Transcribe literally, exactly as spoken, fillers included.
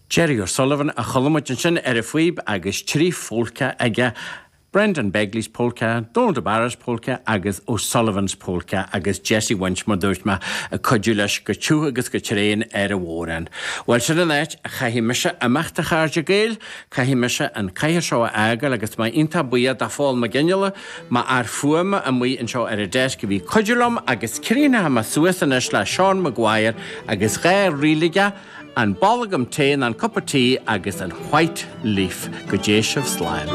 Jerry O'Sullivan a chuala muid ansin ar an phíb agus trí pholca aige Brendan Begley's polka, Donald de Barra's polka agus O'Sullivan's polka agus Jesse Winch mar dúirt mé ag cuidiú leis go tiubh agus go tréan ar an bhodhrán. Well sin an áit a chaithfidh mise imeacht a chairde Gael, caithfidh mise an cathaoir seo a fhágáil agus mé iontach buíoch do Phól Mac Fhionnghaile, m'fhear fuaime amuigh anseo ar an desk a bhí ag cuidiú liom agus críochnóidh mé suas anois le Seán Maguire agus dhá ríl aige, an bolgam tae an cupa tea agus an White Leaf go dté sibh slán.